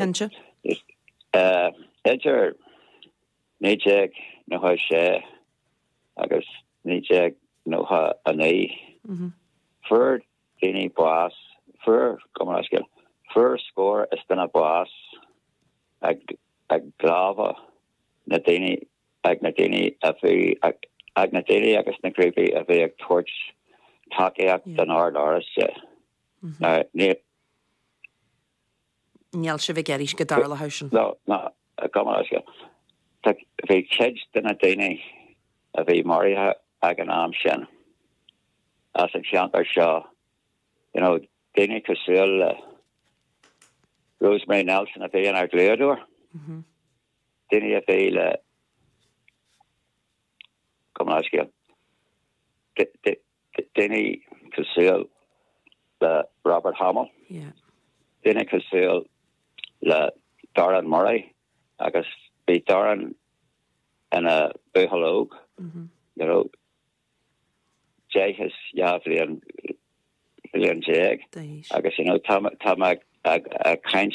Cinnte. Idir 1996 agus 1999, fuair daoine bás, fuair, gabh mo leithscéal, fuair scór is duine bás ag lámha na daoine, ag na daoine a bhí, ag na daoine agus na grúpaí a bhí ag tabhairt tacaíocht don Ord Oráiste. Now, ní. Níl sibh ag iarraidh go dtarlódh sin. No, no, gabh mo leithscéal. Tá, bhí cuid de na daoine a bhí maraithe ag an am sin as an cheantar seo, you know, daoine cosúil le Rosemary Nelson a bhí inár dlíodóir, daoine a bhí le, gabh mo leithscéal, daoine cosúil le Robert Hamill, daoine cosúil le Darren Murray agus bhí Darren ina bhuachaill óg, you know, 10 is 12 bhliain bhliain agus you know tá tá mé ag ag caint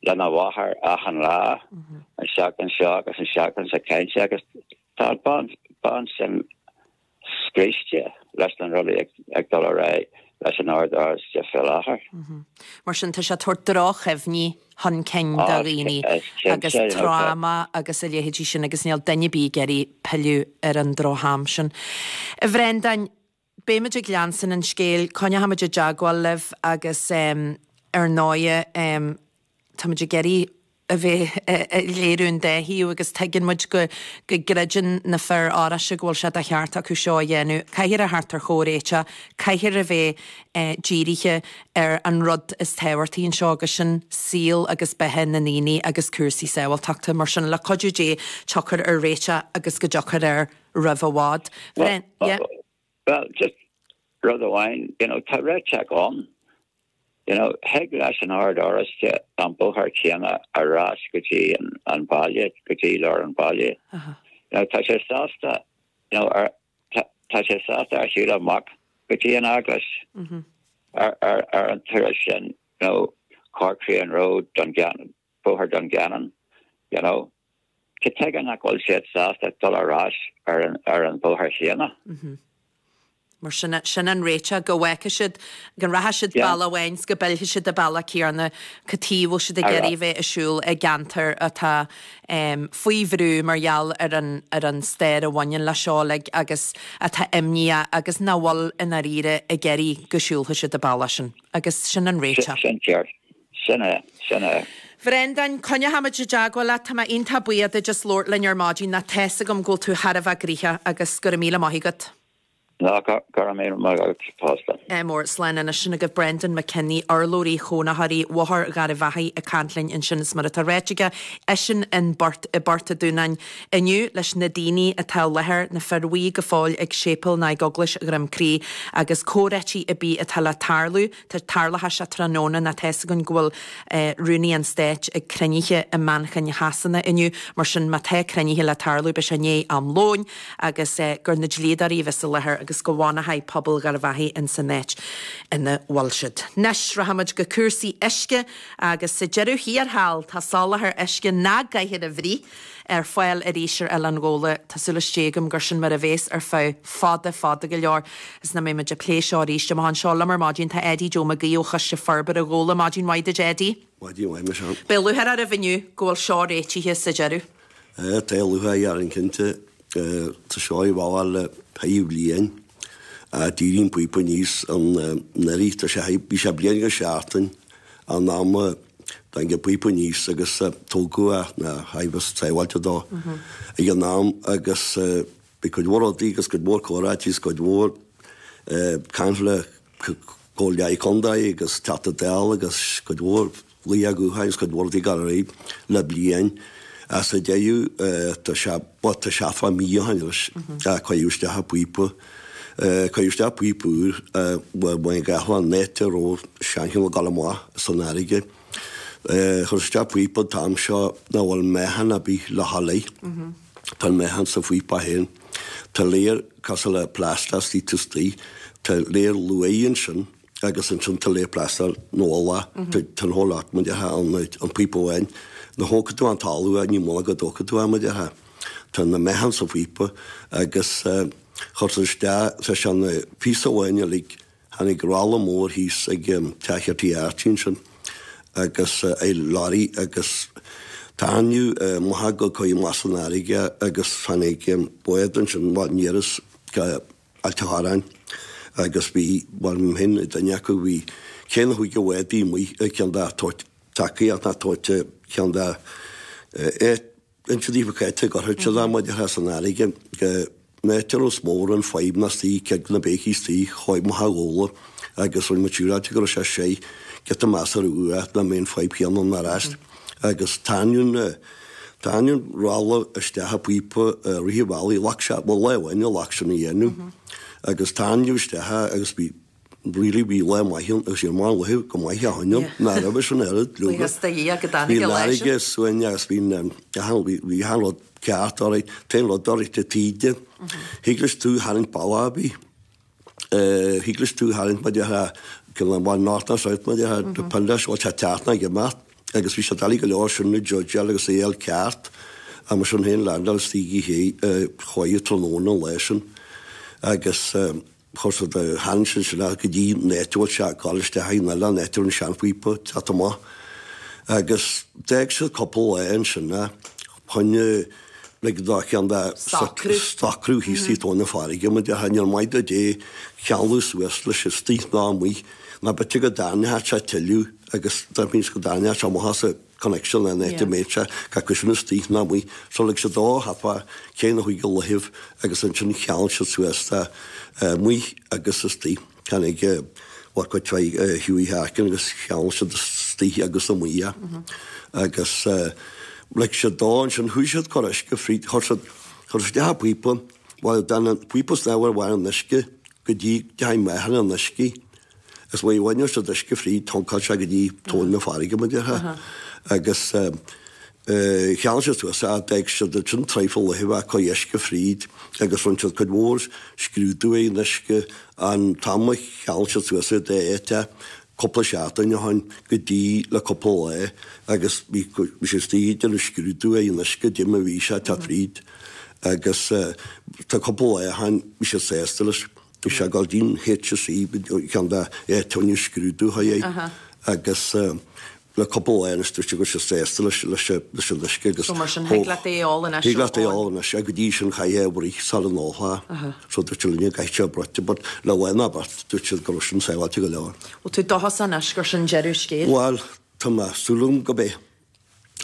lena mháthair achan lá an seachtain seo agus an seachtain seo caite agus tá an bean bean sin scriosta leis na rudaí ag dul ar aghaidh leis an Ord Oráiste faoi láthair. Mar sin, tá sé ag tabhairt droch-chuimhní chun cinn do dhaoine agus tráma agus a leithéidí sin agus níl duine ar bith ag iarraidh pilleadh ar an droch-am sin. A Bhreandáin, beimid ag leanstan an scéil, coinneochaimid i dteagmháil libh agus ar ndóighe, Táimid ag iarraidh a bheith ag léiriú an dá thaobh agus tuigeann muid go go gcreideann na fir Oráiste go bhfuil sé de cheart acu seo a dhéanamh. Caithfear a theacht ar chomhréiteach, caithfear a bheith dírithe ar an rud is tábhachtaí anseo agus sin saol agus beatha na ndaoine agus cúrsaí sábháilteachta. Mar sin, le cuidiú Dé, tiocfar ar réiteach agus go dtiocfar air roimh i bhfad. Bhrean, yeah. Well, just rud amháin, you know, tá réiteach ann. You know, thig leis an Ord Oráiste an bóthar céanna ar ais go dtí an baile, go dtí lár an bhaile. You know, tá sé sásta, you know, ar, tá, tá sé sásta ar shiúl amach go dtí an eaglais ar, ar, ar an turas sin, you know, Corcrean Road, Dungannon, Bóthar Dungannon, you know. Cad tuige nach bhfuil siad sásta dul ar ais ar an ar an bhóthar chéanna? Mar sin, sin an réiteach, go bhfágfaidh siad, go rachaidh siad bealach amháin 's go bpillfidh siad an bealach céanna, cad chuige a bhfuil siad ag iarraidh a bheith ag siúl i gceantar atá faoi bhrú mar gheall ar an ar an stair a bhaineann le seo uilig agus atá imníoch agus nach bhfuil i ndáiríre ag iarraidh go siúlfaidh siad an bealach sin. Agus sin an réiteach. Sin ceart. Sin é. Sin é. Bhreandáin, coinneochaimid i dteagmháil leat. Tá mé iontach buíoch duit as labhairt linn ar maidin. Tá 'fhios agam go bhfuil tú thar a bheith gnoitheach agus go raibh míle maith agat. Ná, go raibh míle maith agat fosta. Ádh mór. Slán anois. Sin agaibh Brendan McKinney, urlabhraí chónaitheoirí Bhóthar Gharbh Achaidh ag caint linn ansin is mar atá ráite aige, eisean in bPort, i bPort a' Dúnáin inniu leis na daoine atá i láthair, na fir bhuí go fóill ag séipéal ná ag Eaglais Dhroim Crí agus comhráití ar bith atá le tarlú. Tá tarlóidh sé tráthnóna ná tá 'fhios againn go bhfuil Rúnaí an Stáit ag cruinnithe i Manchain Shasana inniu, mar sin má tá cruinnithe le tarlú beidh sé i ndiaidh am lóin agus gur na dlíodóirí a bheas i láthair agus go bhfanfaidh pobal Gharbh Achaidh in san áit ina bhfuil siad. Anois rachaimid go cúrsaí uisce agus sa deireadh thiar thall tá soláthar uisce nach gcaithfear a bhruith ar fáil arís ar Oileán Ghabhla. Tá súil istigh agam gur sin mar a bhéas ar feadh fada, fada go leor is nach mbeidh muid ag plé seo arís. Amach anseo liom ar maidin tá Eddie Joe Mac Aoidh ó Choiste Forbartha Ghabhla. Maidin mhaith duit Eddie. Maidin mhaith Michelle. Beidh lúcháir oraibh inniu go bhfuil seo réitithe sa deireadh. Tá lúcháir orainn cinnte. Tá seo ar bhealach le fiche bliain. D'éirigh an píopa aníos anuraidh. Tá sé, bhí sé bliain agus seachtain an am a dtáinig an píopa aníos agus tógadh é na thaibheas sábháilte dó ag an am agus bhí cuid mhór rudaí agus cuid mhór comhráití agus cuid mhór caint le Comhairle Contae agus Teachta Dála agus cuid mhór glaoch gutháin agus cuid mhór rudaí ag dul ar aghaidh le bliain. Sa deireadh tá sé, bhuel tá sé fá mí ó shin anois, cuireadh isteach an píopa, cuireadh isteach píopa úr, bhain gach an áit a raibh seancheann ag dul amach san fharraige. Chuir isteach píopa an t-am seo nach bhfuil meáchan ar bith le dhul air. Tá an meáchan sa phíopa féin. Tá layer cosúil le plaisteach istigh taobh istigh. Tá layer luaidhe ansin. agus ansin tá lay plaster nó ola, tá an whole lot mar a déarfá ann, an píopa amháin. Nuair a thógfaidh tú an talamh é, ní muna go dtógfaidh tú é mar a déarfá. Tá na meáchan sa phíopa agus chuir siad isteach, tá sé ina phíosa amháin uilig, tháinig rolla mór thíos ag teach ar Tí Archie ansin agus é lorry agus tarraingíodh amach go coim as an fharraige agus tháinig bád ansin, bhuel ní fhearas go Ailt a' Chorráin agus bhí, bhuel mé féin duine acu, bhí cé na chúige bhádaí amuigh ag ceann de tacaíocht ná tabhairt ceann de inse daofa cá háit a gcuirfeadh siad é mar a déarfá san fharraige go n-áit a raibh is mór an fadhb ná istigh cead na béicí istigh chomh maith a ghabhla agus rinne muid siúráilte go raibh sé sé giota measartha uaidh nach mbeidh an fadhb chéanna ann ar ais agus tarraingíodh na Tarraingíodh an rolla isteach i bpíopa rith an bhealaigh, ghlac sé, bhuel lá amháin a ghlac sin a dhéanamh agus tarraingíodh isteach é agus bhí, really bhí lá maith ann agus bhí an maith luiche go maith a choinneáil ná raibh sin oiread leoga. Buíochas do Dhia go dtáinig an lá sin. Bhí an fharraige suain agus bhí an, bhí achan rud ceart, alright, t-aon rud alright an taoide, thig leis tú a tharraingt bealach ar bith. Thig leis tú a tharraingt mar a déarfá cineál bhuel north ná south mar a déarfá depend leis bhfuil sé ag teacht ná ag imeacht agus bhí sé doiligh go leor sin a judgeáil agus é a fháil ceart ach mar sin féin landáil istigh i choíche tráthnóna an lá sin agus chuir siad tharraing siad sin go dtí an áit a bhfuil sé ag dul isteach in oileán áit a raibh an seanphíopa ag teacht amach agus d'fhág siad cúpla lá ansin é choinne like dá cheann de Socrú. socrú thíos i dtóin na farraige mar a déarfá níor mhaith do Dé ceangal suas leis istigh ná amuigh ná b'fhéidir go dtarraingeodh sé tuilleadh agus that means go dtarraingeodh sé amach as an connection an áit a mbeadh sé gach cuid sin istigh ná amuigh so lig siad dó thapa cé na chuige luichibh agus ansin cheangail siad suas é amuigh agus istigh. Tháinig bhuel cuid mhaith Hughie Harkin agus cheangail siad istigh agus amuigh é agus lig siad dó ansin chuaigh siad cur uisce fríd chuir siad chuir siad isteach an píopa bhuel d'fhan an píopa snámha ar bharr an uisce go dtí deachaigh meáchan an uisce is bhuel bhain siad uisce fríd thioncail sé go dtí tóin na farraige mar a déarfá agus Cheangail siad suas é, d'fhág siad ansin traidhfil laetha ag cur uisce fríd agus rinne siad cuid mhór scrúdú ar an uisce an t-am a cheangail siad suas é d'áit é cúpla seachtain ó shin go dtí le cúpla lá agus bhí siad istigh ag déanamh scrúdú ar an uisce dé mar bhí sé ag teacht fríd agus tá cúpla lá ó shin bhí siad sásta leis. Bhí sé ag dul dtí'n HSE ceann de áiteanna scrúdú é agus le cúpla lá anois dúirt sé go raibh sé sásta leis leis leis an uisce agus So mar sin thig leat é a ól anois Thig leat é a ól anois go dtí sin chaithfeá é a bhruith sara n-ólfá é. So dúirt sé linne go gcaithfeadh sé a bruite but le lá nó beirt dúirt siad go raibh sin sábháilte go leor. Bhfuil tú dóchasach anois gur sin deireadh scéil? Bhuel tá mé súil agam go mbeidh.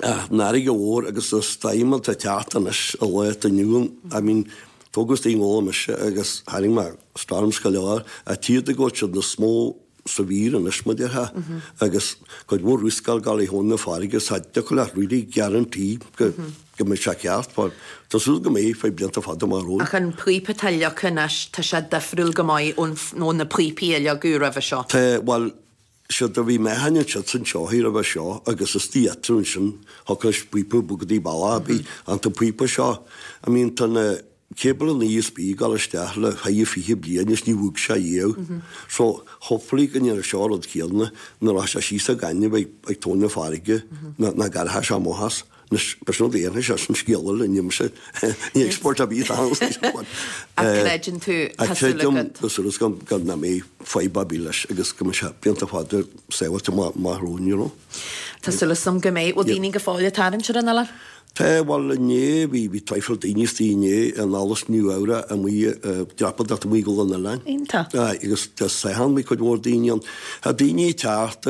Ach an fharraige mhór agus na stoirm atá ag teacht anois i lá atá inniu ann I mean tógadh istigh i nGabhla mise agus tharraing mé storms go leor ach tchífidh tú go bhfuil siad níos mó severe anois mar a déarfá agus cuid mhór riosca ag gabháil ar thóin na farraige so cha dtiocfadh leat really guarantee go go mbeidh sé ceart but tá súil go mbeidh feadh blianta fada amach romhainn. Ach an píopa atá leagtha anois tá sé difriúil go maith ón ó na píopaí a leagadh roimhe seo. Tá, bhuel siad a bhí meáchain ansiúd san tseoigh roimhe seo agus istigh eatarthu ansin thiocfadh leis píopa bogadh go dtí bealach ar bith ach an píopa seo I mean tá na Cable an ESB ag dul isteach le haghaidh 20 bliain is ní bhog sé riamh. So, hopefully go ndéanfaidh seo an rud céanna nuair a rachaidh sé síos sa ghaineamh ag tóin na farraige nach gcarrfaidh sé amach as. Anois, b'shin rud a dhéanfaidh sé, sin scéal eile, ní mise, ní expert ar bith ann. Ach creideann tú, tá súil agat. Creidim, tá súil agam go nach mbeidh fadhb ar bith leis agus go mbeidh sé blianta fada sábháilte amach romhainn, you know. Tá súil agam go mbeidh. Bhfuil daoine go fóill ag tarraingt ar an oileán? Tá, bhuel inné, bhí, bhí traidhfil daoine istigh inné in Allas Nua Eabhrac amuigh, dreapadóireacht amuigh ag dul an oileáin. Iontach. Aye, agus Dé Sathairn bhí cuid mhór daoine ann. Tá daoine ag teacht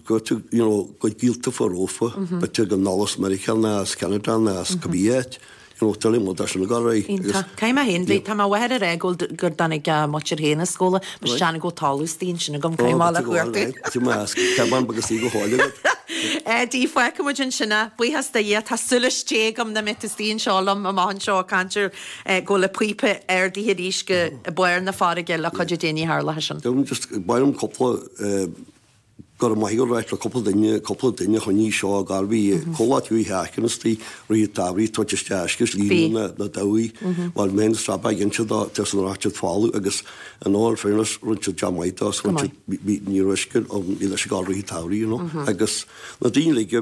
go, you know, go gaolta fá rófa, b'fhéidir go anall as Meiriceá ná as Ceanada ná as cibé áit, you know, tuilleadh muid as sin ag dul ar aghaidh. Iontach. Caithfidh mé féin, bhí, tá mo mháthair ag rá go bhfuil, gur dtáinig a muintir féin as Gabhla, mar sin go bhfuil talamh istigh ansin agam, caithfidh mé le cuartú. Tá mé as Ceaban beag istigh go fóill agat. Eddie, fágfaidh muid ansin é. Buíochas do Dhia, tá súil istigh agam nach mbeidh tú istigh anseo liom amach anseo ag caint ar go bhfuil an píopa ardaithe arís go barr na farraige le cuidiú Dé ní tharlóidh sin. Just, ba mhaith liom cúpla. Go raibh maith agat ráit le cúpla duine, cúpla duine a choinnigh seo ag gabháil. Bhí comhlacht Hughie Harkin istigh, rith an tsamhraidh, tabhairt isteach uisce is líonadh na dabhaigh. Bhuel, mé féin is Rob ag inse dó, tá san raibh siad folamh agus in all fairness rinne siad job maith dó, so rinne siad, bhí, ní raibh uisce ann, bhí leis ag gabháil rith an tsamhraidh, you know. Agus na daoine uilig a bhí.